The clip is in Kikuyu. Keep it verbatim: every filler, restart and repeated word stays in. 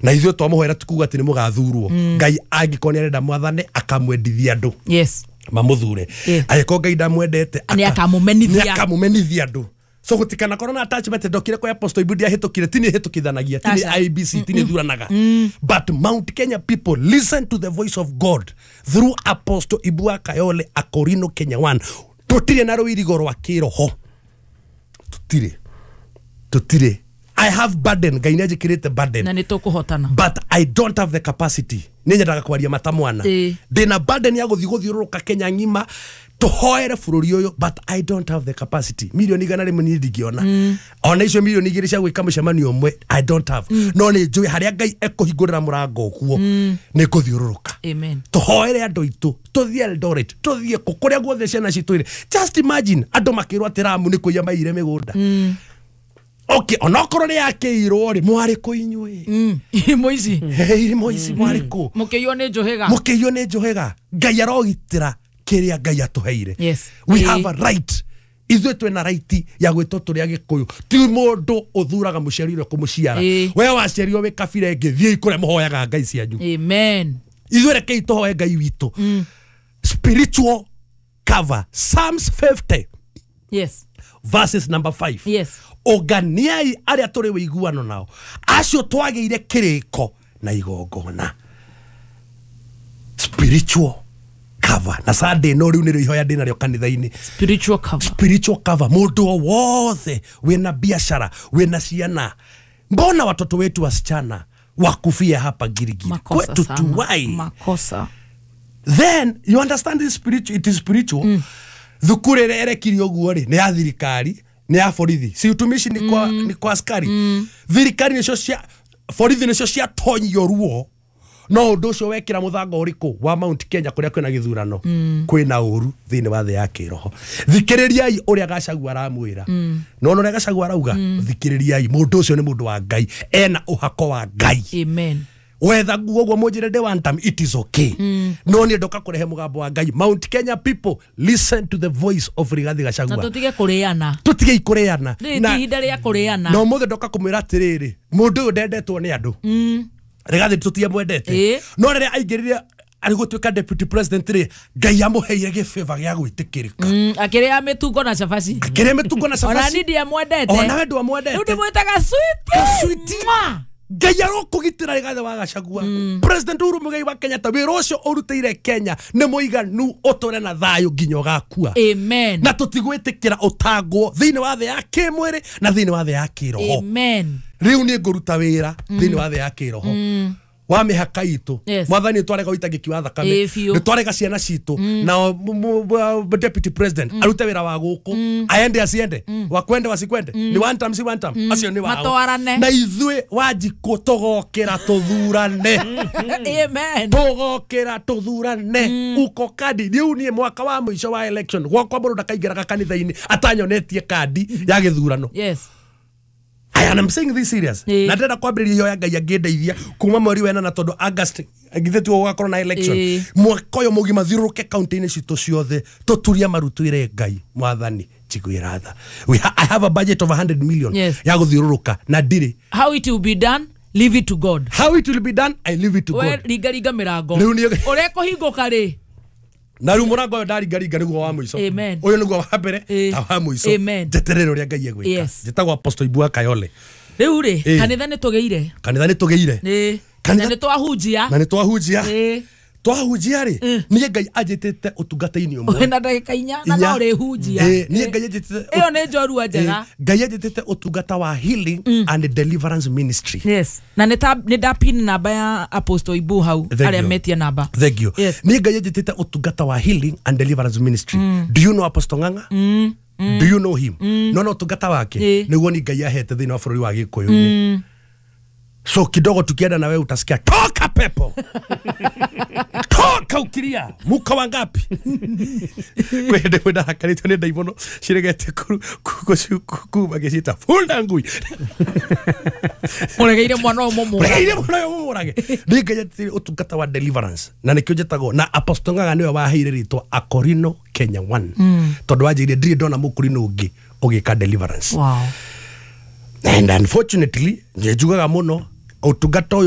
Na ithuĩ twamũhoera tukuga atĩ nĩ mũgathurwo. Ngai angĩkorwo nĩ arenda mwathane, akamwendithia andũ yes mamũthure. Yeah. Angĩkorwo Ngai ndamwendete, Nĩ akamũmenithia. Nĩ akamũmenithia andũ. So gũtikanakorwo na attachment. Ndokire kwa Apostle Ibu, ndiahĩtũkire, ti niĩ hĩtũkithanagia, ti Aca. nĩ I E B C, ti niĩ thuranaga, but Mount Kenya people, listen to the voice of God through Apostle Ibu wa Kayole, Akorino Kenya one. Tũtirĩ na rũirigo rwa kĩroho, tũtirĩ, tũtirĩ. I have burden, Ngai nĩ anjĩkĩrĩte burden. Na nĩ tũkũhotana. But I don't have the capacity. Nĩ nyendaga kwaria mata mwana. Ĩĩ. Ndĩna burden ya gũthiĩ gũthiũrũrũka Kenya ng'ima tũhoere bũrũri ũyũ, but I don't have the capacity. Milioni igana rĩmwe niĩ ndingĩona, ona icio milioni igĩrĩ cia gwĩka mũcemanio ũmwe I don't have. No nĩ njũĩ harĩa Ngai ekũhingũrĩra mũrango ũguo nĩ kũthiũrũrũka. Amen. Tũhoere andũ aitũ, tũthiĩ Eldoret, tũthiĩ kũ kũrĩa guothe ciana citũ irĩ. Just imagine andũ makĩrwo atĩ Ramu nĩ kũiya maiyire mĩgũnda. Okay, onokorwo nĩ yakĩirwo rĩ, mwarĩ kũ inyuĩ? Mm. Irimo ici. Irimo ici, mwarĩ kũ? Mũkĩiywo nĩ njũhĩga. Mũkĩiywo nĩ njũhĩga. Ngai arogitĩra kĩrĩa Ngai atũheire. Yes. We Ĩĩ. have a right, ithuĩ twĩna right ya gwĩtwo tũrĩ Agĩkũyũ. Ti mũndũ ũthuraga mũciari ũrĩa kũmũciara. Ĩĩ. We waciarirwo wĩ kabira ĩngĩ, thiĩi kũrĩa mũhoyaga ngai cianyu. Amen. Ithuĩ rekei tũhoe Ngai witũ. Spiritual cover, Psalms fifty yes verses number five. Yes. Ũnganiai arĩa tũrĩ wĩiguano nao, acio twagĩire kĩrĩko na igongona. Spiritual cover. Na Sunday no rĩu nĩrĩo ihoya ndĩ narĩo kanitha-inĩ. Spiritual cover. Spiritual cover. Mũndũ o wothe wĩna biashara, wĩna ciana, mbona watoto wetu wasichana wakufia hapa Girigiri? Makosa Kwetu sana. tuwai. Makosa. Then you understand this spiritual, it is spiritual mm. Thukuru ĩrĩa ĩrekirio ũguo rĩ, nĩ ya thirikari, nĩ ya borithi, si utumishi ni kwa, mm. ni kwa askari mm. Thirikari nĩcio cia borithi, nĩcio ciatonyio ruo. No ũndũ ũcio wekĩra mũthanga ũrĩkũ wa Mount Kenya kũrĩa kwĩna gĩthurano mm. Kwĩna ũru thĩinĩ wa thĩ ya kĩroho. Thikĩrĩriai ũrĩa Gachagua aramwĩra mm. Nona ũrĩa Gachagua arauga mm. Thikĩrĩriai mũndũ ũcio, nĩ mũndũ wa Ngai, ena ũhako wa Ngai. Amen. Wetha nguo ũguo mũnjĩre ndĩ one time, it is okay mm. No niĩ ndoka kũrehe mũgambo wa Ngai. Mount Kenya people, listen to the voice of Rigathi Na Gachagua. Tũtige kũrĩana. Tũtige kũrĩana. Rĩrĩ ti ihinda rĩa kũrĩana. Na ũmũthĩ ndoka kũmwĩra atĩrĩrĩ, mũndũ ũyũ ndendetwo nĩ andũ mm. Rigathi tũtiamwendete. Ĩĩ. No rĩrĩa aingĩrire arĩ gũtuĩka deputy president rĩ, Ngai amũheire gĩbĩba gĩa gwĩtĩkĩrĩka. Mm, akĩrĩa mĩtungo na cabaci. Akĩrĩa mĩtungo na Ona cabaci. niĩ ndiamwendete. Ona we ndwamwendete. Rĩu ndĩmwĩtaga sweetie. Sweetie. Mwah. Ngai arokũgitĩra Rigathi wa Gachagua. President Uhuru Muigai wa Kenyatta, wĩra ũcio ũrutĩire Kenya nĩ mũiganu ũtũre na thayũ nginya ũgakua. Amen. Na tũtigwĩtĩkĩra ũtangwo thĩinĩ wa thĩ ya kĩmwĩrĩ na thĩinĩ wa thĩ ya kĩroho. Amen. Rĩu niĩ ngũruta wĩra thĩinĩ wa thĩ ya kĩroho wa mĩhaka itũ. Yes. Mwathani, nĩ twarega ũitangĩki wa thakame. Ĩĩ, biũ. Nĩ twarega ciana citũ na deputy president arute wĩra wa gũkũ, aende asiende, wakwende wasikwende, ni one time si one time, acio nĩ wao. Matwarane. Na ithuĩ Wanjikũ tũgokĩra tũthurane. Amen. Tũgokĩra tũthurane uko kandi. Rĩu niĩ mwaka wa mũico wa election gwakwa, mũndũ ndakaingĩraga kanitha-inĩ atanyonetie kandi ya gĩthurano. Yes. I am saying this serious. Ĩĩ. Na ndĩrenda kwambĩrĩria ihoya Ngai angĩndeithia kuma mweri wa ĩnana, tondũ August githĩ tiguo gũgakorwo na election? Ĩĩ. Mwaka ũyũ mũgima thiũrũrũke kaunti-inĩ citũ ciothe, tũturie maru, twĩre Ngai, Mwathani, njiguĩra tha. We ha I have a budget of one hundred million Yes. ya gũthiũrũrũka na ndirĩ. How it will be done, leave it to God. How it will be done, I leave it to We God. ringa ringa mĩrango. Rĩu niĩ- Ũrĩa ĩkũhingũka rĩ. Na rĩu mũrango ũyũ ndaringaringa nĩguo wa mũico. Amen. Ũyũ nĩguo wa mbere Ĩĩ. na wa mũico. Amen. Njeterere ũrĩa Ngai egwĩka. Yes. Njĩtagwo Apostle Ibua Kayole. Rĩu rĩ, Ĩĩ. kanitha nĩ tũgĩire. Kanitha nĩ tũgĩire. Ĩĩ. Kanitha- Na nĩ twahunjia. Na nĩ twahunjia. Ĩĩ. Twahunjia rĩ, niĩ Ngai anjĩtĩte ũtungata-inĩ ũmwe. Na ndagĩka inya na Inya. no ũrĩhunjia. Ĩĩ, niĩ Ngai anjĩtĩte Ĩyo nĩ njorua njega. Ĩĩ, Ngai anjĩtĩte ũtungata wa healing and deliverance ministry. Yes, na nĩ ta- nĩ ndapin namba ya Apostle Ibu hau Thank arĩa you. metie namba. Thank you. Yes. Niĩ Ngai anjĩtĩte ũtungata wa healing and deliverance ministry. Do you know Apostle Ng'ang'a? Do you know him? No no ũtungata wake Ĩĩ. nĩguo ni Ngai ahete thĩinĩ wa bũrũri wa Gĩkũyũ-inĩ. So kidogo tukienda na wewe utasikia, "Toka pepo, toka ukilia, muka wangapi?" Kwĩ hĩndĩ ĩmwe ndahakarĩtio nĩ ndaimono ciregete kuma gĩciĩta funda ngui. Mũregeire mwana ũyũ mũmũrage. Regeire mwana ũyũ mũmũrage. Nĩ Ngai anjĩtĩire ũtungata wa deliverance na nĩkĩo njĩtagwo na Apostle Ng'ang'a nĩwe waheire rĩtwa Akorino Kenya one, tondũ wanjĩire ndirĩ ndona mũkorino ũngĩ ũgĩka deliverance. Wow. And unfortunately njugaga mũno ũtungata ũyũ.